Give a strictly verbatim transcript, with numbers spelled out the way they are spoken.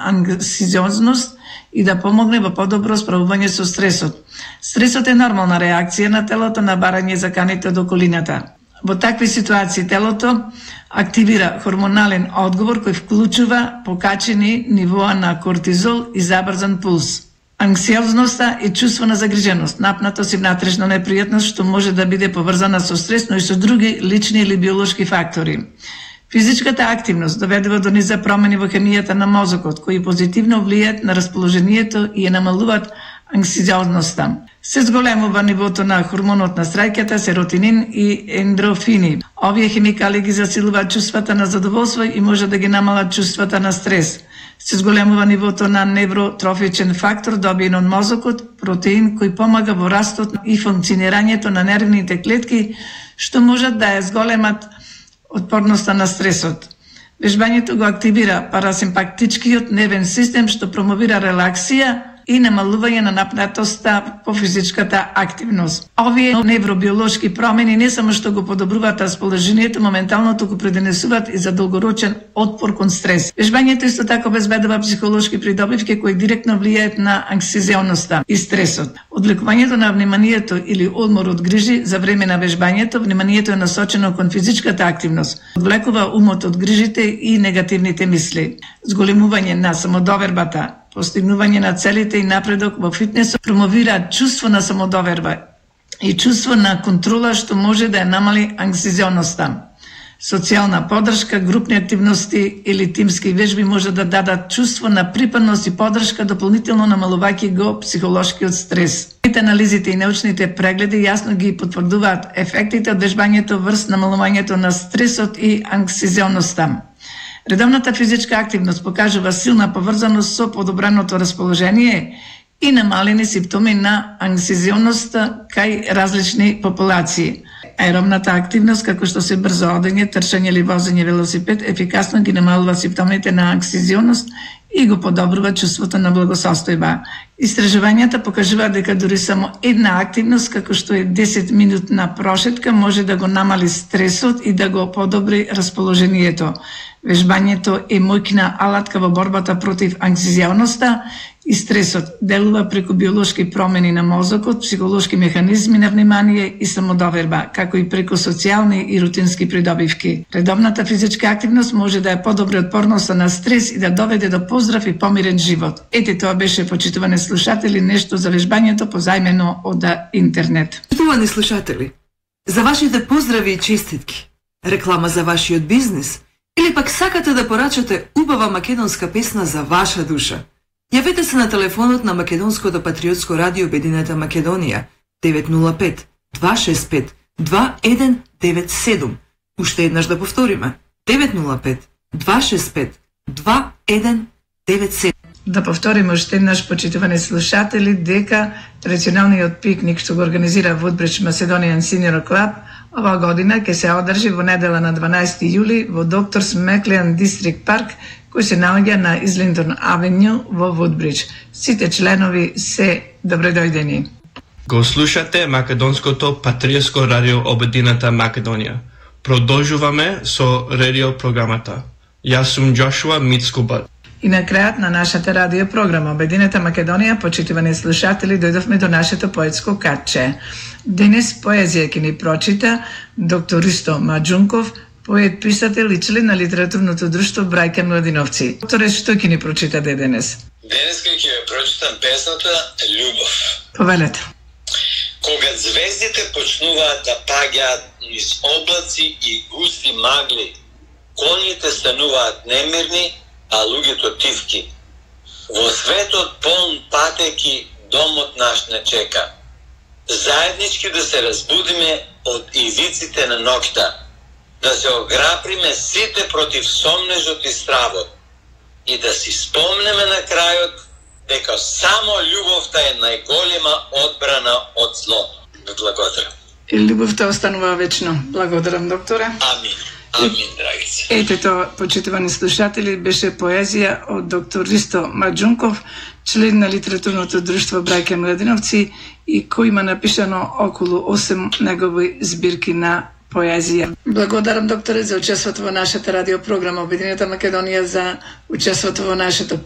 анксиозност и да помогне во подобро справување со стресот. Стресот е нормална реакција на телото на барање заканите од околината. Во такви ситуации телото активира хормонален одговор кој вклучува покачени нивоа на кортизол и забрзан пулс. Анксиозноста е чувство на загриженост, напнатост и внатрешна непријатност што може да биде поврзана со стрес, но и со други лични или биолошки фактори. Физичката активност доведува до низа промени во хемијата на мозокот, кои позитивно влијаат на расположението и ја намалуваат анксиозноста. Се зголемува нивото на хормонот на среќата, серотонин и ендорфини. Овие хемикали ги засилуваат чувствата на задоволство и може да ги намалат чувствата на стрес. Се зголемува нивото на невротрофичен фактор добиен од мозокот, протеин кој помага во растот и функционирањето на нервните клетки, што можат да ја зголемат отпорноста на стресот. Вежбањето го активира парасимпатичкиот нервен систем што промовира релаксија и намалување на напнатоста по физичката активност. Овие невробиолошки промени не само што го подобруваат расположението, моментално туку придонесуваат и за долгорочен отпор кон стрес. Вежбањето исто така обезбедува психолошки придобивки кои директно влијаат на анксиозноста и стресот. Одвлекувањето на вниманието или одмор од грижи за време на вежбањето, вниманието е насочено кон физичката активност. Одвлекува умот од грижите и негативните мисли. Зголемување на самодовербата, постигнување на целите и напредок во фитнесот промовираат чувство на самодоверба и чувство на контрола што може да ја намали анксиозноста. Социјална поддршка, групни активности или тимски вежби може да дадат чувство на припадност и поддршка, дополнително намалувајќи го психолошкиот стрес. Анализите и научните прегледи јасно ги потврдуваат ефектите од вежбањето врз намалувањето на стресот и анксиозноста. Редовната физичка активност покажува силна поврзаност со подобреното расположение и намалени симптоми на анксиозноста кај различни популации. Аеробната активност, како што се брзо одење, трчање или возење велосипед, ефикасно ги намалува симптомите на анксиозност и го подобрува чувството на благосостојба. Истражувањата покажуваат дека дури само една активност, како што е десет минутна прошетка, може да го намали стресот и да го подобри расположението. Вежбањето е моќна алатка во борбата против анксиозноста и стресот. Делува преку биолошки промени на мозокот, психолошки механизми на внимание и самодоверба, како и преку социјални и рутински придобивки. Редовната физичка активност може да ја подобри отпорноста на стрес и да доведе до поздрав и помирен живот. Ете, тоа беше, почитувани слушатели, нешто за вежбањето позајмено од интернет. Почитувани слушатели, за вашите поздрави и честитки, реклама за вашиот бизнис, или пак сакате да порачате убава македонска песна за ваша душа, јавете се на телефонот на Македонското патриотско радио Обединета Македонија девет нула пет два шест пет два еден девет седум. Уште еднаш да повториме девет нула пет два шест пет два еден девет седум. Да повториме уште еднаш, почитувани слушатели, дека традиционалниот пикник што го организира Woodbridge Macedonian Senior Club оваа година ќе се одржи во недела на дванаесети јули во Докторс Меклиан Дистрикт парк, кој се наоѓа на Излинтон Авенју во Woodbridge. Сите членови се добредојдени. Го слушате Македонското патриотско радио Обединета Македонија. Продолжуваме со радио програмата. Јас сум Джошуа Мицкубат. И на крајот на нашата радио програма Обединета Македонија, почитувани слушатели, дојдовме до нашето поетско катче. Денес поезија ќе ни прочита доктор Ристо Маџунков, поет, писател и член на литературното друштво Брајка Младиновци. Докторе, што ќе ни прочита денес? Денес ќе ви прочитам песната Љубов. Повелете. Кога звездите почнуваат да паѓаат низ облаци и густи магли, коњите стануваат немирни, а луѓето тивки. Во светот полн патеки домот наш не чека. Заеднички да се разбудиме од ивиците на ноќта, да се ограприме сите против сомнежот и стравот и да си спомнеме на крајот дека само љубовта е најголема одбрана од злото. Благодарам. И љубовта останува вечно. Благодарам, докторе. Амин. Амин, драгица. Ете тоа, почитувани слушатели, беше поезија од доктор Ристо Маџунков, член на литературното друштво Брајка Младиновци, и кој има напишано околу осем негови збирки на поезија. Благодарам, докторе, за учеството во нашата радиопрограма Обединета Македонија, за учеството во нашето